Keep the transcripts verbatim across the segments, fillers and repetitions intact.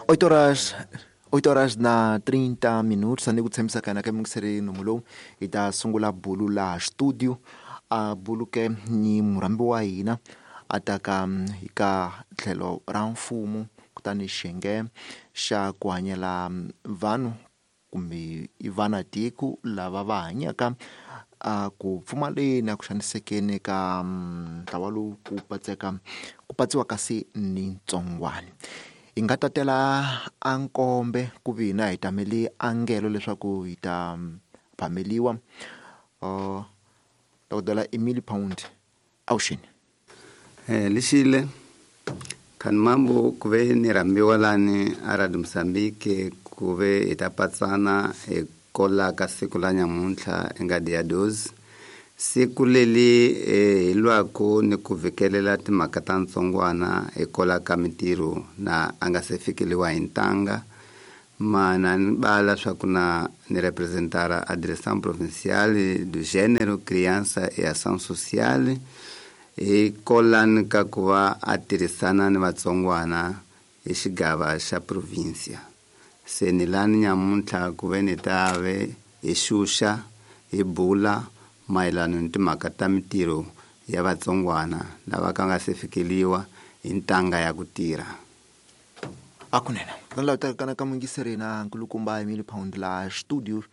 Oito horas, oito horas na trinta minutos, ni ku tshembisa ka hina ka muyingiseri nomu lowu hi ta sungula bulu laha studio a bulu ke ni murhambi wa hina a ta ka hi ka tlhelo ra mfumo kutani xiyenge xa ku hanyela vanhu kumbe i vana tiko lava va hanyaka a ku pfumaleni a ku xanisekeni ka ntlawa lowu ku patseka ku patsiwa kasi ni ntsongwana. Hi nga tatela a nkombe ku vi hina hi tamele angelo leswaku hi ta phameliwa uh, dokodela Emily Pound avuxeni. Eh lixile khani mambo ku ve ni rhambiwa lani a Radio Mozambique ku ve hi ta patsana hi kola ka siku la nyamuntlha nga dia doze siku leli hi lwaku ni ku vikelela timhaka ta ntsongwana hi kola ka mintirho na a nga se fikeliwa hi ntanga mana ni bala swa ku na ni representara a Direção Provincial do Gênero, Criança e Ação Social hi kolani ka ku va a tirhisana ni vatsongwana hi xigava xa provincia. Se ni lani nyamuntlha ku ve ni ta ve hi xuxa hi bula mayelana ni timhaka ta mintirho ya vatsongwana lava ka nga se fikeliwa hi ntanga ya ku tirha. Akunene kutani laha tekana ka muyingiseri na nkulukumba Emily Pound laha studio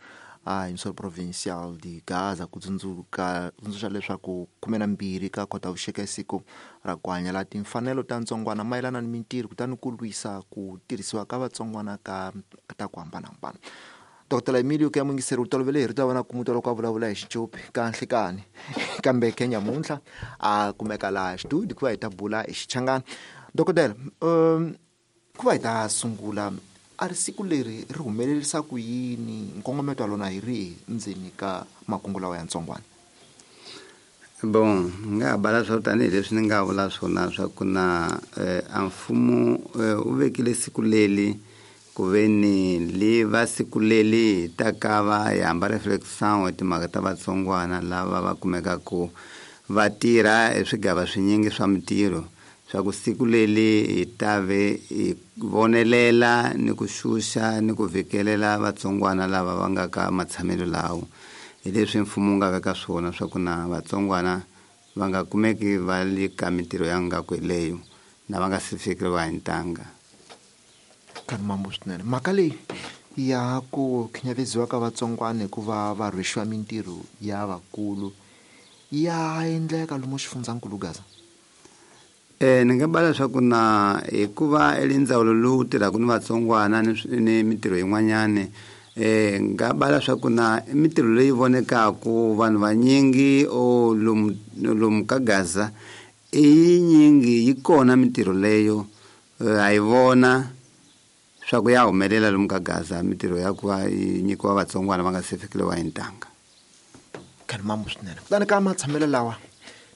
a emissora provincial de Gaza ku tsundzuka tsundzuxa leswaku khume na mbirhi ka Khotavuxika siku ra ku hanyela timfanelo ta ntsongwana mayelana ni mintirho kutani ku lwisa ku tirhisiwa ka vatsongwana ka ta ku hambanahambana. Dokodela Emilio ku ya muyingiseri u tolovele hi rito ra wena ku mutwa loko a vulavula hi xicopi ka nhlikani kambe ke nyamuntlha a kumeka laha studio ku va hi ta bula hi xichangani. Dokodela um ku va hi ta sungula a ri siku leri ri humelerisa ku yini nkongometo wa lona hi rihi ndzeni ka makungu lawa ya ntsongwana? Bon, ni nga ha bala swa tanihileswi ni nga vula swona swa ku na eh, a mfumo eh, u vekile siku leli ku ve ni li va siku leli hi ta ka va hi hamba reflection hi timhaka ta vatsongwana lava va kumekaku va tirha hi swigava swinyingi swa mintirho swa ku siku leli hi ta ve hi vonelela ni ku xuxa ni ku vikelela vatsongwana lava va nga ka matshamelo lawo. Hi leswi mfumo wu nga veka swona swa ku na vatsongwana va nga kumeki va le ka mintirho ya ngaku leyo na va nga se fikeriwa hi ntanga. Khani mambo swinene mhaka leyi ya ku khinyavisiwa ka vatsongwana hikuva va rhwexiwa mintirho ya vakulu ya endleka lomu xifundzankulu Gaza? Eh ni nga bala swa ku na hikuva i ndzawulo lowu tirhaka ni vatsongwana ni ni mintirho yin'wanyani eh nga bala swa ku na mintirho leyi vonekaku vanhu vanyingi o lomu lomu ka Gaza i yinyingi yi kona mintirho leyo ha yi vona swa ku ya humelela lomu ka Gaza mintirho ya ku va yi nyikiwa vatsongwana va nga se fikeliwa hi ntanga. Khani mambo swinene kutani ka matshamelo lawa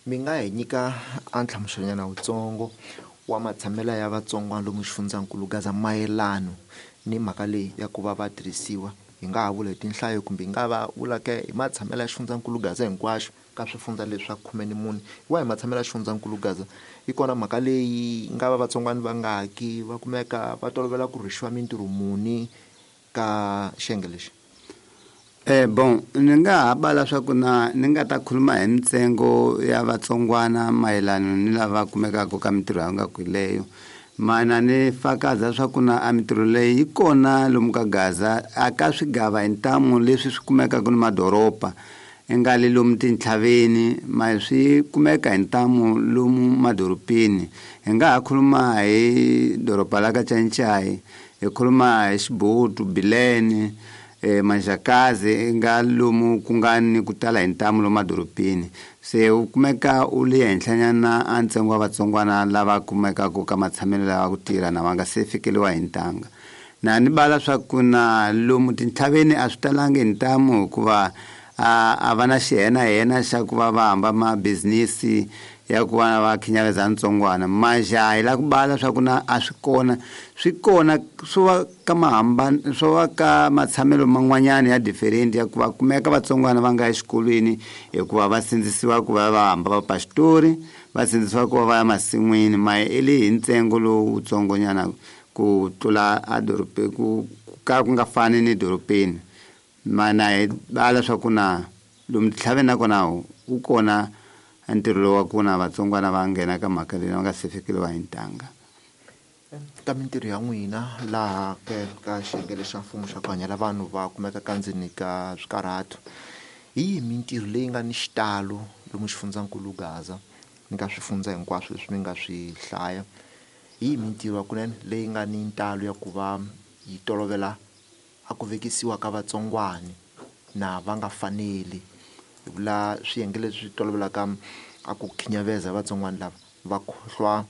mi nga hi nyika a nhlamuselonyana wutsongo wa matshamelo ya vatsongwana lomu xifundzankulu Gaza mayelano ni mhaka leyi ya ku va va tirhisiwa hi nga ha vula hi tinhlayo kumbe hi nga va vula ke hi matshamelo ya xifundzankulu Gaza hinkwaxo ka swifundza leswi swa khume ni mune wa hi matshamelo ya xifundzankulu Gaza yi kona mhaka leyi nga va vatsongwana va nga ki va kumeka va tolovela ku rhwexiwa mintirho muni ka xiyenge lexi? Eh bon ni nga ha bala swa ku na ni nga ta khuluma hi mintsengo ya vatsongwana mayelana ni lava kumekaka ka mintirho ya nga leyo mana ni fakaza swa ku na a mintirho leyi yi kona lomu ka Gaza a ka swigava hi ntamu leswi swi kumekaka ni madoroba i nga le lomu tintlhaveni ma swi kumeka hi ntamu lomu madorobeni. Hi nga ha khuluma hi doroba la ka Chanchay hi khuluma hi Xibutu Bilene eh Manjakazi nga lomu ku nga ni ku tala hi ntamu lomu madorobeni. Se u kumeka u le henhlanyana a ntsengo wa vatsongwana lava kumekaka ka matshamelo lawa ku tirha na va nga se fikeliwa hi ntanga. Na ni bala swa ku na lomu tintlhaveni a swi talangi hi ntamu hikuva a a va na xihenahena xa ku va va hamba mabizinisi ya ku va va khinyaveza ntsongwana maja hi la ku bala swa ku na a swi kona swi kona swo va ka mahambana swo va ka matshamelo man'wanyana ya different ya ku va kumeka vatsongwana va nga exikolweni hikuva va sindzisiwa ku va va hamba va pastori va sindzisiwa ku va va ya masin'wini ma i le hi ntsengo lowutsongonyana ku tlula a dorobe ku ka ku nga fani ni dorobeni mana hi bala swa ku na lomu titlhaveni nakona wu kona ntirho lowu wa ku na vatsongwana va nghena ka mhaka leyi va nga se fikeliwa hi ntanga. Ka mintirho ya n'wina laha ke ka xiyenge xa mfumo xa ku hanyela vanhu va kumeka ka ndzeni ka swikarhato, hi yihi mintirho leyi nga ni xitalo lomu xifundzankulu Gaza ni ka swifundza hinkwaswo leswi mi nga swi hlaya? Hi yihi mintirho kunene leyi nga ni ntalo ya ku va yi tolovela a ku vekisiwa ka vatsongwani na va nga faneli? Hi vula swiyenge leswi tolovelaka a ku khinyaveza vatsongwani lava va khohlwa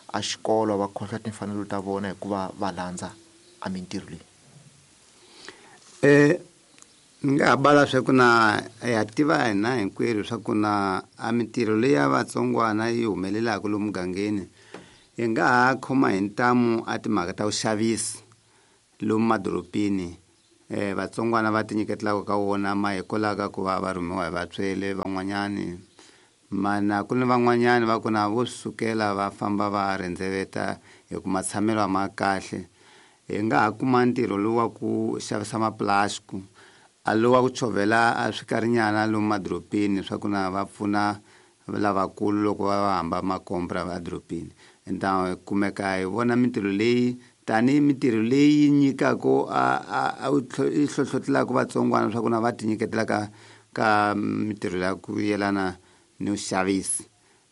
a xikolo, va khohlwa timfanelo ta vona hikuva va landza a mintirho leyi. Eh ni nga ha bala swa ku na ya tiva hina hinkwerhu swa ku na a mintirho leyi ya vatsongwana yi humelelaka lomu mugangeni hi nga ha khoma hi ntamu a timhaka ta vuxavisi lomu madorobeni. Eh vatsongwana va tinyiketelaka ka wona ma hikwalaho ku va va rhumiwa hi vatswele van'wanyani, mana ku ni van'wanyani va ku na vo sukela va famba va rendzeveta hi ku matshamelo a ma kahle. Hi nga ha kuma ntirho lowu wa ku xavisa maplastic, a lowu wa ku chovhela a swikarinyana lomu madorobeni swa ku na va pfuna lavakulu loko va va hamba makompra va dorobeni. Enta kumeka hi vona mintirho leyi tanihi mintirho leyi nyikaka a a yi hlohlotelaka vatsongwana swa ku na va tinyiketela ka ka mintirho ya ku yelana ni xavisi.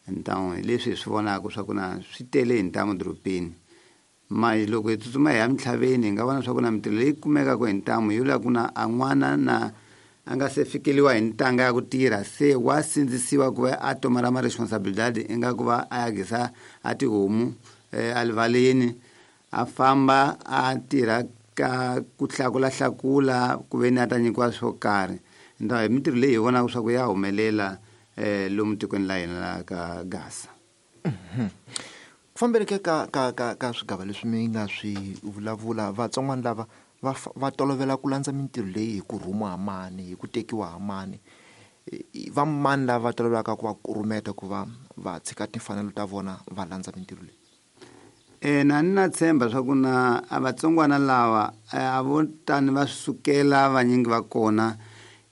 Ntamu leswi hi swi vonaka swa ku na swi tele hi ntamu dorobeni. Ma loko hi tsutsuma hi ya mintlhaveni hi nga vona swa ku na mintirho leyi kumekaka hi ntamu yo la ku na a n'wana na a nga se fikeliwa hi ntanga ya ku tirha se wa sindzisiwa ku va a tomara ma responsabilidade ingaku va a ya gisa a tihomu erivaleni a famba a tirha ka ku hlakulahlakula ku ve ni a ta nyikiwa swo karhi. Ntamu hi mintirho leyi hi vonaka swa ku ya humelela eh lomu tikweni la hina la ka Gaza. Ku fambeleke ka ka ka ka swigava leswi mi nga swi vulavula, vatsongwana lava va va tolovela ku landza mintirho leyi hi ku rhumiwa ha mani, hi ku tekiwa ha mani, va mani lava tolovelaka ku va kurumeta ku va va tshika timfanelo ta vona va landza mintirho leyi? Eh na ni na tshemba swa ku na a vatsongwana lava a vo tani va sukela vanyingi va kona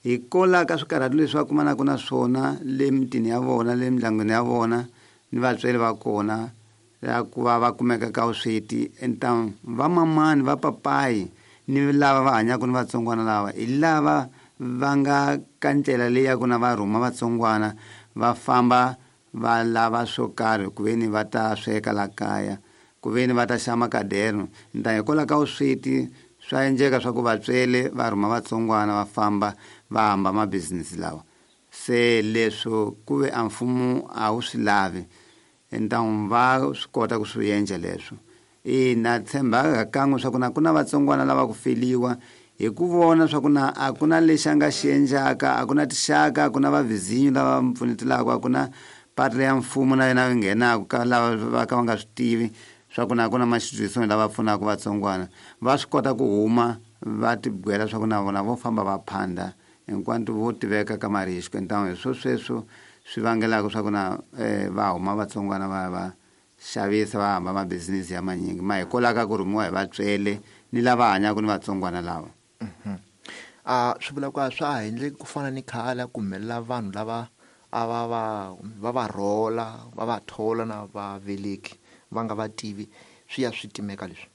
hikwalaho ka swikarhato leswi va kumanaka na swona le mitini ya vona, le mindyangwini ya vona ni vatswari va kona ya ku va va kumeka ka vusweti. Enta va mamani va papayi ni lava va hanyaka ni vatsongwana lava hi lava va nga ka ndlela leyi ya ku na va rhuma vatsongwana va famba va lava swo karhi ku ve ni va ta sweka la kaya, ku ve ni va ta xava makadeno. Nta hikwalaho ka vusweti swa endleka swa ku vatswele va rhuma vatsongwana va famba va hamba mabizinisi lawa. Se leswo ku ve a mfumo a wu swi lavi, ntamu va swi kota ku swi endla leswo. Ina tshemba kan'we swa ku na ku na vatsongwana lava ku feliwa hi ku vona swa ku na a ku na lexi a nga xi endlaka, a ku na tixaka, a ku na vavhizinyo lava mi pfunetelaka, a ku na patla ya mfumo na yona yi nghenaka ka lava va ka va nga swi tivi swa ku na ku na maxidyohisweni lava pfunaka vatsongwana. Va swi kota ku huma va tibwela swa ku na vona vo famba va phanda hinkwato vo tiveka ka marixiko. Ntamu hi swo sweswo swi vangelaka swa ku na va huma vatsongwana va va xavisa va hamba mabizinisi ya manyingi ma hikwalaho ka ku rhumiwa hi vatswele ni lava hanyaka ni vatsongwana lava. A swi vula ku a swa ha endleki ku fana ni khale ku humelela vanhu lava a va va va va rhola va va thola na vaveleki va nga va tivi, swi ya swi timeka leswi?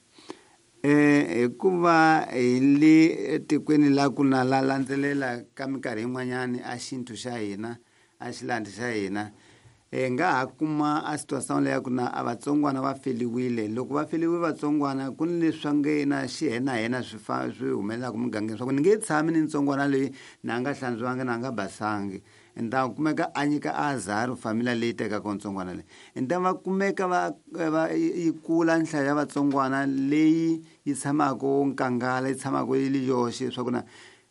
Eh hikuva hi le tikweni la ku na la landzelela ka minkarhi yin'wanyani a xintu xa hina a xilandi xa hina hi nga ha kuma a situation leyi ya ku na a vatsongwana va feliwile. Loko va feliwe vatsongwana ku ni leswi swa nge na xihenahena swi fa swi humelelaka mugangeni swa ku ni nge tshami ni ntsongwana leyi na nga hlantswiwangi na nga basangi. Nta kumeka a nyika azar familia leyi tekaka ntsongwana leyi. Nta va kumeka va va yi kula nhlayo ya vatsongwana leyi yi tshamaka nkangala, yi tshamaka yi li yoxe swa ku na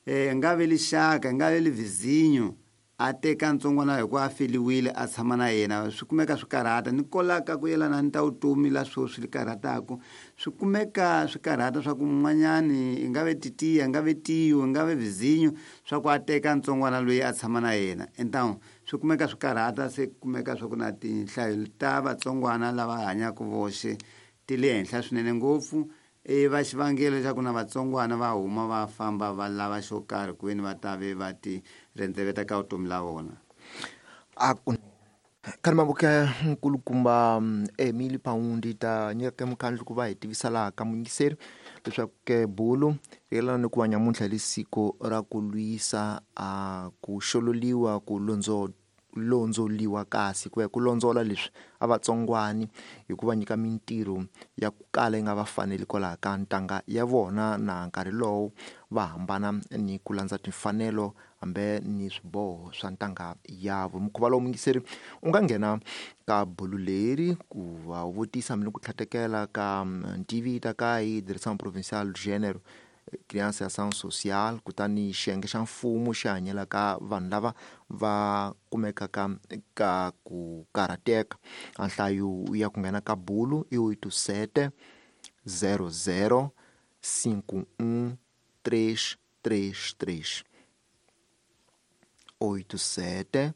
eh nga ve lixaka, nga ve li vizinyo a teka ntsongwana hi ku a feliwile a tshama na yena. Swi kumeka swi karhata ni kolaka ku yelana ni ta vutomi la swo swi karhataka, swi kumeka swi karhata swa ku mun'wanyani i nga ve titiya, nga ve tiyo, nga ve vizinyo swa ku a teka ntsongwana loyi a tshama na yena. Ntamu swi kumeka swi karhata, se kumeka swa ku na tinhlayo ta vatsongwana lava hanyaka voxe ti le henhla swinene ngopfu e va xivangelo xa ku na vatsongwana va huma va famba va lava xo karhi ku veni va ta ve va ti rendzeveta ka vutomi la vona. A ku Karimabuke nkulukumba Emily Paundi ta nyika mukhandlu ku va hi tivisa laha ka muyingiseri leswaku ke bulu yelana ni ku va nyamuntlha hi siku ra ku lwisa a ku xololiwa ku londzo londzoliwa kasi ku ya ku londzola leswi a vatsongwani hi ku va nyika mintirho ya ku kala yi nga va faneli kwalaho ka ntanga ya vona na nkarhi lowu va hambana ni ku landza timfanelo hambi ni swiboho swa ntanga yavo. Mukhuva lowu muyingiseri u nga nghena ka bulu leri ku va u vutisa hambi ni ku tlhatekela ka ntivita ka hi Direction Provinciale Género Criança e Ação Social kutani xiyenge xa mfumo xi hanyela ka vanhu lava va kumekaka ka ku karhateka. A nhlayo ya ku nghena ka bulu i oito sete zero zero cinco um três três três oito sete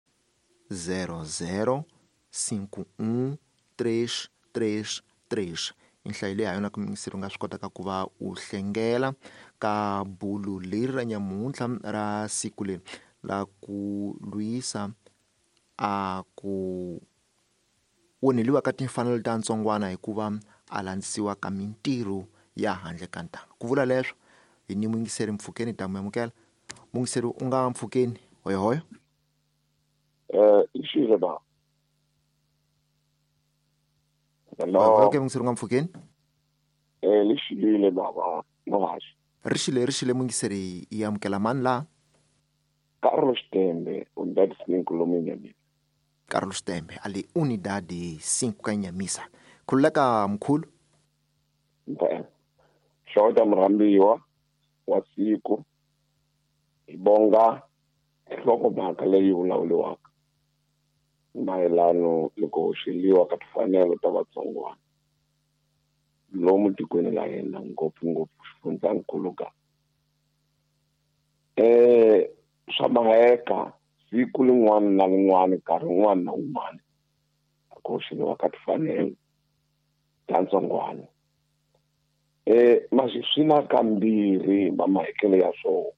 zero zero cinco um três três três. I nhlayo leyi ha yona ku muyingiseri u nga swi kotaka ku va u hlengela ka bulu leri ra nyamuntlha ra siku leri la ku lwisa a ku onheliwa ka timfanelo ta ntsongwana hikuva a landzisiwa ka mintirho ya handle ka ntanga. Ku vula leswo hi ni muyingiseri mpfhukeni ta mu amukela. Muyingiseri u nga mpfhukeni hoyohoyo. Eh i ba. Hello. Okay, muyingiseri u nga mpfhukeni. Eh lexile baba Mohaxi. Ri xile ri xile muyingiseri yi amukela mani laha? Carlos Tembe, Unidade cinco lomu Nyamisa. Carlos Tembe ali Unidade cinco ka Nyamisa. Khululeka mkhulu. Mpela. Xota murhambiwa wa siku hi bonga nhlokomhaka leyi vulavuriwaka mayelano ni ku hoxeliwa ka timfanelo ta vatsongwana lomu tikweni la hina ngopfungopfu xifundzankulu ka eh swa maheka siku lin'wana na lin'wana nkarhi wun'wana na wun'wana ku hoxeliwa ka timfanelo ta ntsongwana. Eh masi swi na kambirhi va mahekelo ya swona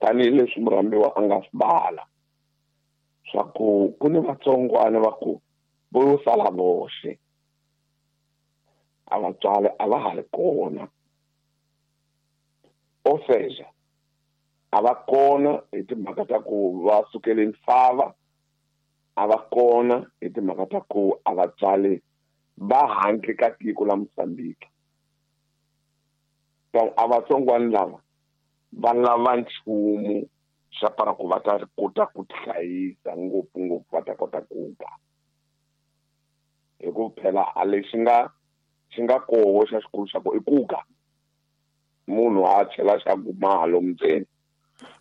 tanihileswi murhambiwa a nga swi bala swa ku ku ni vatsongwana va ku vo sala voxe a vatswari a va ha ri kona ou seja a va kona hi timhaka ta ku va sukele misava a va kona hi timhaka ta ku a vatswari va handle ka tiko la Mozambique. Donc a vatsongwana lava va lava nchumu xa para ku va ta kota ku tihlayisa ngopfungopfu va ta kota ku ba hi ku phela a lexi nga xi nga koho xa xikulu xa ku i kuka munhu a chela xa ku malo ndzeni.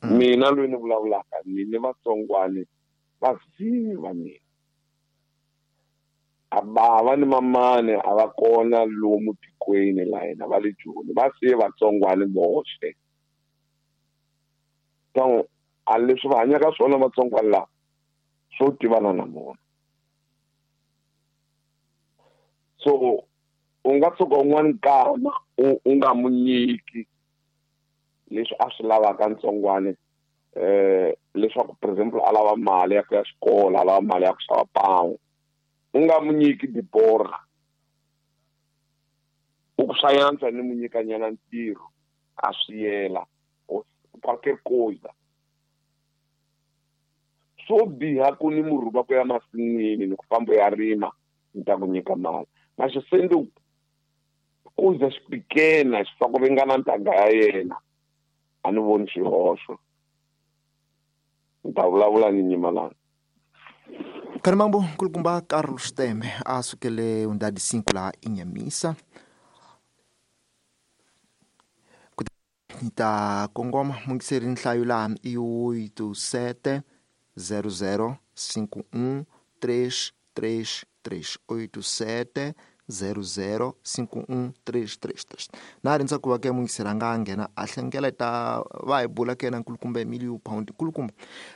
Mina loyi ni vulavulaka ni ni vatsongwani va ziva mina a bava ni mamani a va kona lomu tikweni la hina va le Joni va siye vatsongwani voxe. Donc a leswi va hanyaka swona vatsongwana lava swo tivana na vona. So u nga tshuka un'wana nkama u u nga mu nyiki leswi a swi lavaka ntsongwana eh leswaku for example a lava mali ya ku ya xikolo a lava mali ya ku xava pawu u nga mu nyiki diborha u ku swa yantswa ni mu nyikanyana ntirho a swi yela qualquer coisa. Swo biha ku ni murhuba ku ya masin'wini ni ku famba ya rima ni ta ku nyika mali mas sendo coisas pequenas swa ku ringana ntanga ya yena a ni voni xihoxo. Ni ta vulavula ni nyimalana. Karimambo nkulukumba Carlos Tembe a sukele Unidade cinco la Inhamisa. Ni ta kongoma muyingiseri nhlayo laha i oito sete zero zero cinco um três três três oito sete zero zero cinco um três três três. Na rindza ku va ke muyingiseri a nga nghena a hlengela ta va hi bula ke na nkulukumba Emilio Pound. Nkulukumba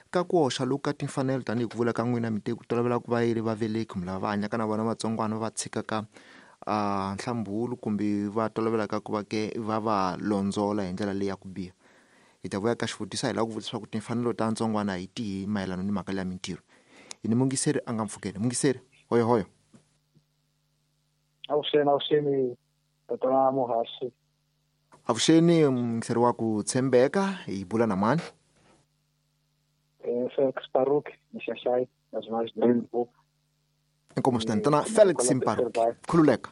ka ku hoxa loku ka timfanelo tanihi ku vula ka n'wina mi te ku tolovela ku va yi ri vaveleki kumbe lava va hanyaka na vona vatsongwana va va tshikaka a nhlambulu kumbe va tolovelaka ku va ke va va londzola hi ndlela leyi ya ku biha. Hi ta vuya ka xivutiso hi lava ku vutisa ku timfanelo ta ntsongwana hi tihi mayelana ni mhaka leya mintirho. Hi ni mungiseri a nga mpfukeni. Mungiseri, hoyo hoyo. Avuxeni, avuxeni tatana Muhaxi. Avuxeni mungiseri wa ku tshembeka, hi bula na mani? Eh Felix Baruch, Mixaxai, nas mais do Inkomu swinene tana Felix Mparuki, khululeka.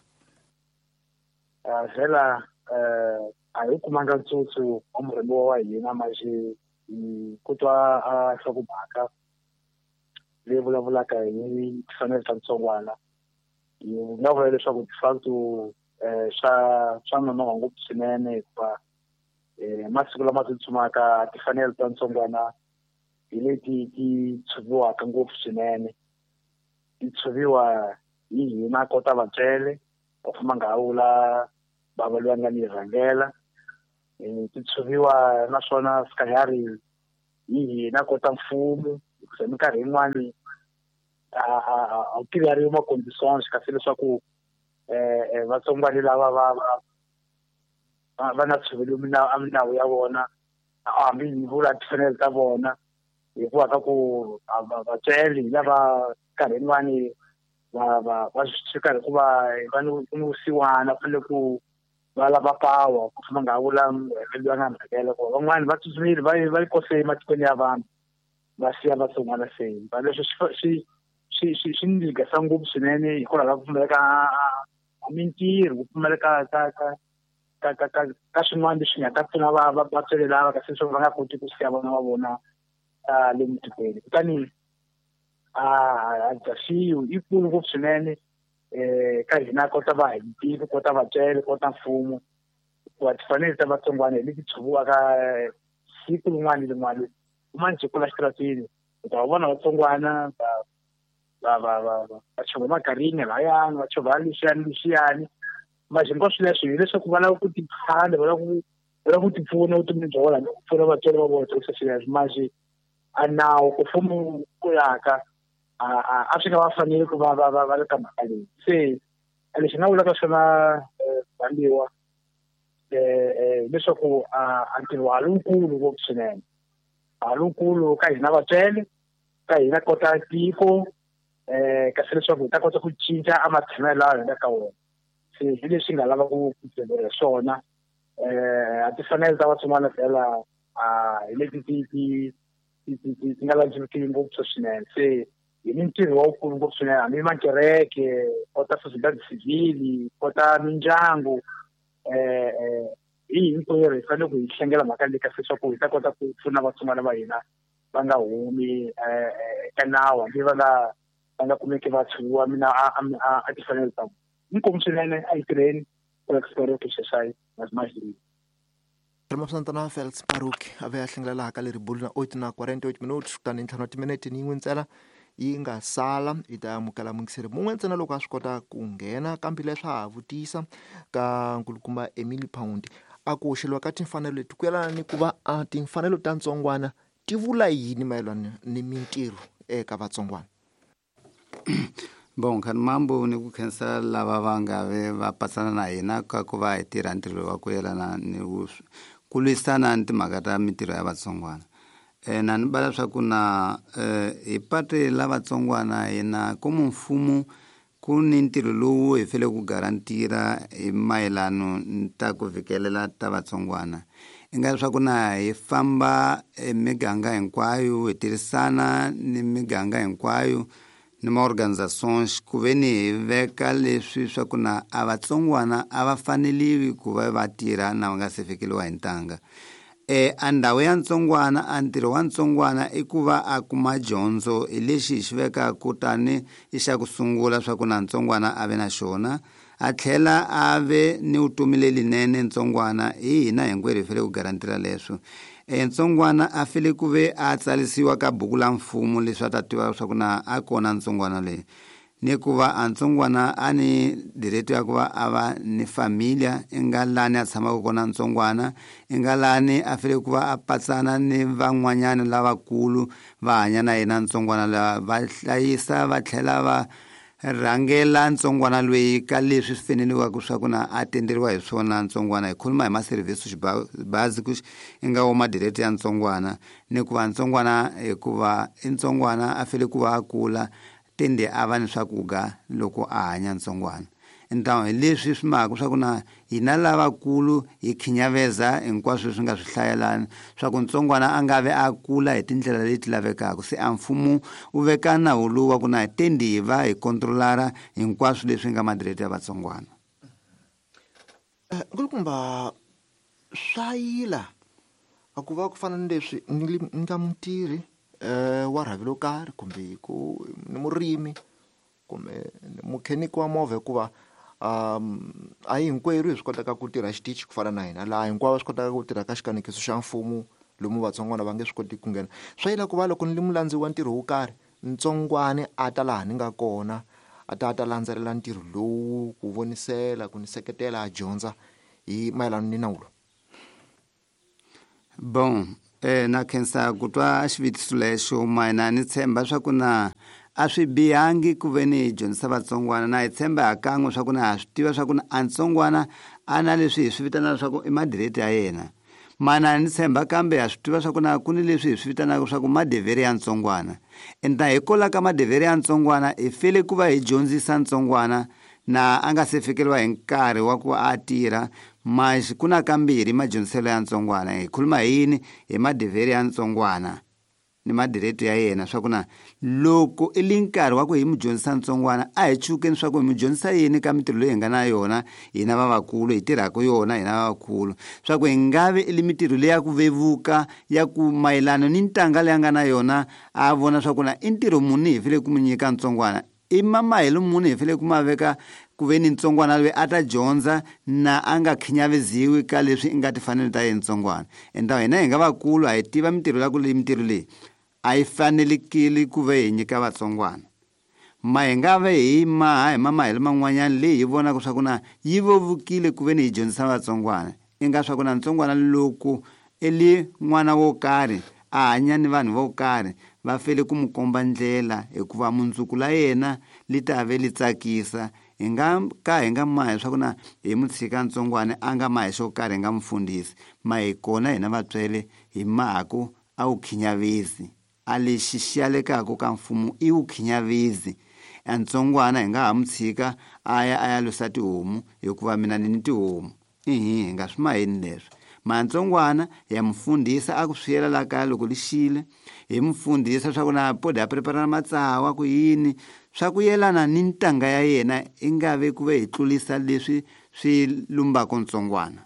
Ah vhela eh a hi kumanga ntsutsu wa murhemiwa wa hina manje hi ku twa a nhlokomhaka leyi vulavulaka hi timfanelo ta ntsongwana. Hi nga vula leswaku de facto eh swa swa nonoha ngopfu swinene hikuva eh masiku lama tsutsumaka timfanelo ta ntsongwana hi leti ti tshuviwaka ngopfu swinene. Ti tshuviwa hi hina kota vatswele va famba nga vula bava loyi a nga ni rhangela. Ti tshuviwa naswona sikahari hi hina kota mfumo hikuva minkarhi yin'wani a a a wu tivi ri ma conditions kasi leswaku eh vatsongwana lava va va va nga tshoveli a milawu ya vona hambi hi vula timfanelo ta vona hikuva ka ku vatswele hi lava nkarhi yin'wani va va va swi karhi ku va va ni ku ni vusiwana fanele ku va lava power ku famba nga vula loyi a nga mhakela ku van'wani va tsutsumile va va yi kose ematikweni ya vanhu va siya vatsongwana se va leswi swi swi swi swi ni ligasa ngopfu swinene hikwalaho ka ku pfumaleka mintirho, ku pfumaleka ka ka ka ka ka ka swin'wana leswi nga ta pfuna va vatswele lava kasi leswaku va nga koti ku siya vana va vona le mutikweni. Kutani a dzaxiwi yi kulu ngopfu swinene eh ka hina kota va hi tiko kota vatswele kota mfumo hikuva timfanelo ta vatsongwana hi leti tshuviwaka siku rin'wana ni rin'wana. Uma njhe kula xitaratini u ta vona vatsongwana va va va va va chovha magarini layani va chovha leswiyani leswiyani manje hinkwaswo leswi hileswaku va lava ku tiphana va lava ku va lava ku tipfuna vutomini bya vona ku pfuna vatswari va vona swilo leswi manje a nawu ku mfumo ku yaka a a swi nga va fanele ku va va va va le ka mhaka leyi. Se lexi nga vulaka swona rhambiwa eh leswaku a ntirho wa lowukulu ngopfu swinene a lowukulu ka hina vatswele ka hina kota tiko eh kasi leswaku hi ta kota ku cinca a matshamelo lawa hi nga ka wona. Se hi leswi nga lava ku byela swona eh a ti fanele ta vatsongwana fela a hi leti ti ti ti ti ti nga landzeriwi ngopfu swinene. Se hi ni ntirho wa wukulu ngopfu swinene hambi makereke kota société civile kota mindyangu eh eh hi hinkwerhu hi fanele ku hi hlengela mhaka leyi kasi leswaku hi ta kota ku pfuna vatsongwana va hina va nga humi eka nawu hambi va nga va nga kumeki va tshuviwa mina a a timfanelo ta vona. Inkomu swinene a hi tirheni Xexai nas mais. Santana Felix Baruch a ve a hlengela ka leri bulu na oito na quarenta e oito minutos kutani ntlhanu wa timinete ni yin'we ntsena yi nga sala hi ta amukela mungiseri mun'we ntsena loko a swi kota ku nghena kambe leswi ha vutisa ka nkulukumba Emily Pound a ku hoxeliwa ka timfanelo leti ku yelana ni ku va a timfanelo ta ntsongwana ti vula yini mayelana ni mintirho eka vatsongwana. Bon, khani mambo ni ku khensa lava va nga ve va patsana na hina ka ku va hi tirha ntirho wa ku yelana ni ku lwisana ni timhaka ta mintirho ya vatsongwana. Eh na ni bala swa ku na eh hi pate la vatsongwana hina komu mfumo ku ni ntirho lowu hi fanele ku garantira hi mayelano ni ta ku fikelela ta vatsongwana. I nga leswaku na hi famba emiganga hinkwayo hi tirhisana ni miganga hinkwayo ni ma-organizations ku ve ni hi veka leswi swa ku na a vatsongwana a va faneliwi ku va va tirha na va nga se fikeliwa hi ntanga. E a ndhawu ya ntsongwana a ntirho wa ntsongwana i ku va a kuma dyondzo hi lexi hi xi vekaka tani i xa ku sungula swa ku na ntsongwana a ve na xona a tlhela a ve ni vutomi lelinene ntsongwana hi hina hinkwerhu hi fanele ku garantira leswo. E ntsongwana a fanele ku ve a tsarisiwa ka buku la mfumo leswi a ta tiva swa ku na a kona ntsongwana leyi ni ku va a ntsongwana a ni direto ya ku va a va ni familia i nga lani a tshamaka kona ntsongwana i nga lani a fanele ku va a patsana ni van'wanyana lavakulu va hanya na yena ntsongwana lava va hlayisa va tlhela va rhangela ntsongwana loyi ka leswi swi faneleke swa ku na a tenderiwa hi swona ntsongwana. Hi khuluma hi ma-service basics i nga wo madirete ya ntsongwana, ni ku va ntsongwana hikuva i ntsongwana a fanele ku va a kula tende a va ni swakudya loko a hanya ntsongwana. Então hi leswi swi maka swa ku na hina lavakulu hi khinyaveza hinkwaswo leswi nga swi hlayelana swa ku ntsongwana a nga ve a kula hi tindlela leti lavekaka. Se a mfumo wu veka nawu lowu wa ku na tendi hi va hi kontrolara hinkwaswo leswi nga madirete ya vatsongwana. Nkulukumba, swa yila a ku va ku fana ni leswi ni nga mutirhi wa rhavi lo karhi kumbe ku ni murimi kumbe mukheniki wa movha, hikuva um a hi hinkwerhu hi swi kotaka ku tirha xitichi ku fana na hina laha hinkwavo va swi kotaka ku tirha ka xikanekiso xa mfumo lomu vatsongwana va nge swi koti ku nghena. Swa yila ku va loko ni li mulandzi wa ntirho wo karhi ntsongwana a ta laha ni nga kona a ta a ta landzelela ntirho lowu ku vonisela ku ni seketela a dyondza hi mayelana ni nawu lowu. Bon, eh na khensa ku twa xivutiso lexo mayina ni tshemba swa ku na a swi bihangi ku ve ni hi dyondzisa vatsongwana, na hi tshemba ha kan'we swa ku na ha swi tiva swa ku na a ntsongwana a na leswi hi swi vitanaka swa ku i madirete ya yena. Mana ni tshemba kambe ha swi tiva swa ku na ku ni leswi hi swi vitanaka swa ku madevere ya ntsongwana. Enta hi kola ka madevere ya ntsongwana hi fele ku va hi dyondzisa ntsongwana na a nga se fikeriwa hi nkarhi wa ku a tirha. Mas ku na kambirhi madyondziselo ya ntsongwana, hi khuluma hi yini? Hi madevere ya ntsongwana ni madirete ya yena swa ku na loko i li nkarhi wa ku hi mu dyondzisa ntsongwana a hi chukeni swa ku hi mu dyondzisa yini ka mintirho leyi hi nga na yona hina vavakulu hi tirhaka yona hina vavakulu, swa ku hi nga vi i li mintirho leyi ya ku vevuka ya ku mayelana ni ntanga leyi a nga na yona a vona swa ku na i ntirho muni hi fanele ku mu nyika ntsongwana, i mamahelo muni hi fanele ku ma veka ku ve ni ntsongwana loyi a ta dyondza na a nga khinyaveziwi ka leswi i nga tifanelo ta yena ntsongwana. Enta hina hi nga vakulu a hi tiva mintirho ya ku leyi mintirho leyi a yi fanelekile ku ve hi nyika vatsongwana, ma hi nga ve hi maha hi mamahelo man'wanyana leyi hi vonaka swa ku na yi vevukile ku ve ni hi dyondzisa vatsongwana. I nga swa ku na ntsongwana loko i li n'wana wo karhi a hanya ni vanhu vo karhi va fanele ku mu komba ndlela hikuva mundzuku la yena li ta ve li tsakisa. Hi nga ka hi nga mahi swa ku na hi mu tshika ntsongwana a nga mahi xo karhi hi nga mu fundhisi, ma hi kona hina vatswele hi mahaku a wu khinyavezi. A lexi xi yalekaka ka mfumo i wu khinyavezi. A ntsongwana hi nga ha mu tshika a ya a ya lusa tihomu hikuva mina ni ni tihomu, ihi hi nga swi maheni leswi. Mantsongwana ya mu fundhisa a ku swiyela la kaya loko li xile, hi mu fundhisa swa ku na podi a prepara matsawa ku yini swa ku yelana ni ntanga ya yena, i nga ve ku ve hi tlulisa leswi swi lumbaka ntsongwana.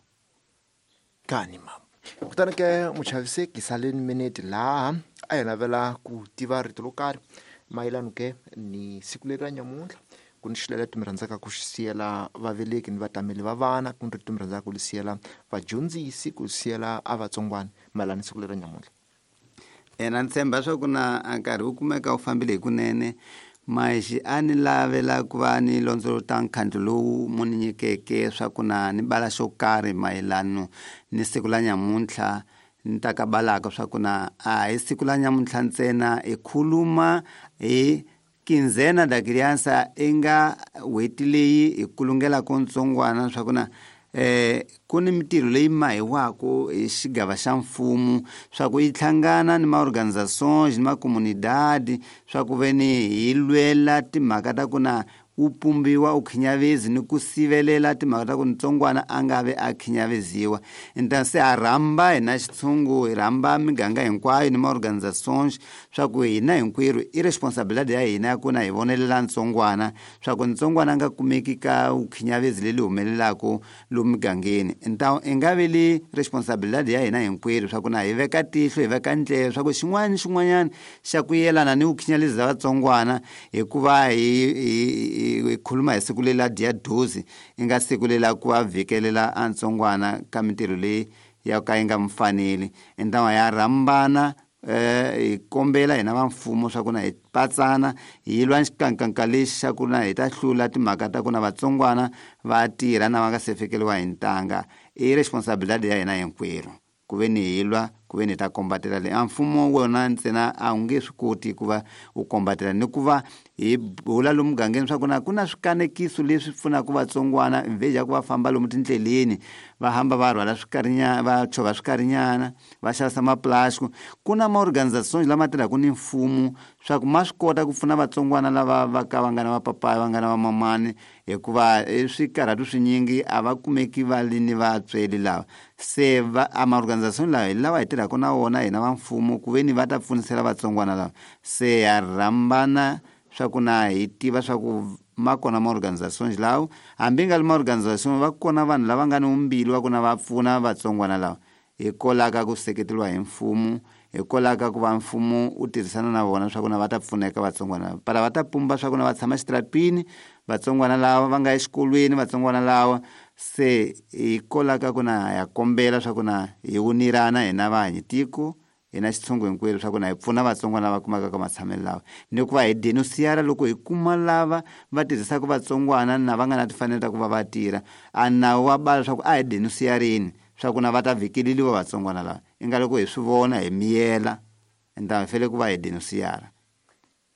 Kani mama, kutani ke muchaviseki saleni minete laha a hi navela ku tiva rito ro karhi mayelana ke ni siku leri ra nyamuntlha, ku ni xilele mi rhandzaka ku xi siyela vaveleki ni vatameli va vana, ku ni rito mi rhandzaka ku li siyela vadyondzisi, ku siyela a vatsongwana mayelana ni siku leri ra nyamuntlha. Ena ni tshemba swa ku na a nkarhi wu kumeka wu fambile hikunene, maxi a ni lavela ku va ni londzolota nkhandlu lowu mu ni nyikeke swa ku na ni bala xo karhi mayelano ni siku la nyamuntlha. Ni ta ka balaka swa ku na a hi siku la nyamuntlha ntsena hi khuluma hi quinzena da criança i nga n'hweti leyi hi kulungelaka ntsongwana swa ku na eh ku ni mintirho leyi mahiwaka hi xigava xa mfumo swa ku yi hlangana ni ma-organizations ni ma-comunidade swa ku ve ni hi lwela timhaka ta ku na wu pumbiwa u khinyavezi ni ku sivelela timhaka ta ku ntsongwana a nga ve a khinyaveziwa. Então se ha rhamba hina xitshungu hi rhamba miganga hinkwayo ni ma-organizations swa ku hina hinkwerhu i responsabilidade ya hina ya ku na hi vonelela ntsongwana swa ku ntsongwana a nga kumeki ka vukhinyavezi leli humelelaka lomu migangeni. Então i nga ve li responsabilidade ya hina hinkwerhu swa ku na hi veka tihlo hi veka ndleve swa ku xin'wana ni xin'wanyana xa ku yelana ni vukhinyavezi bya vatsongwana, hikuva hi hi hi khuluma hi siku leri la dia doze i nga siku leri la ku va vhikelela a ntsongwana ka mintirho leyi ya ka yi nga mu faneli. Então ya rhambana eh hi kombela hina va mfumo swa ku na hi patsana hi lwa xikankanka lexi xa ku na hi ta hlula timhaka ta ku na vatsongwana va tirha na va nga se fikeriwa hi ntanga. I responsabilidade ya hina hinkwerhu ku ve ni hi lwa ku ku ve ni ta kombatela leyi a mfumo wona ntsena a wu nge swi koti ku va wu kombatela ni ku va hi bula lomu mugangeni swa ku na ku na swikanekiso leswi pfunaka vatsongwana mvheji ya ku va famba lomu tindleleni va hamba va rhwala swikarinyana va chovha swikarinyana va xavisa maplastic ku na maorganizations lama tirhaka ni mfumo swa ku ma swi kota ku pfuna vatsongwana lava va ka va nga na vapapaya va nga na vamamani hikuva swikarhatu swinyingi a va kumeki va li ni vatsweli lava se va a maorganization lawa hi lawa hi tirhaka na wona hina va mfumo ku ve ni va ta pfunisela vatsongwana lava se ya rhambana swa ku na hi tiva swa ku ma kona maorganizations lawa hambi nga li maorganization va kona vanhu lava nga ni mbilu wa ku na va pfuna vatsongwana lava hi kolaka ku seketeriwa hi mfumo hi kolaka ku va mfumo wu tirhisana na vona swa ku na va ta pfuneka vatsongwana lava para va ta pumba swa ku na va tshama xitratini vatsongwana lava va nga exikolweni vatsongwana lawa se hi kolaka ku na ya kombela swa ku na hi wunirana hina vahanyi tiko hina xitshungu hinkwenu swa ku na hi pfuna vatsongwana lava kumaka ka matshamelo lawa ni ku va hi denunciara loko hi kuma lava va tirhisaka vatsongwana na va nga na timfanelo ta ku va va tirha a nawu wa bala swa ku a hi denunciarini swa ku na va ta vhikeleliwa vatsongwana lava i nga loko hi swi vona hi miyela enta hi fanele ku va hi denunciara.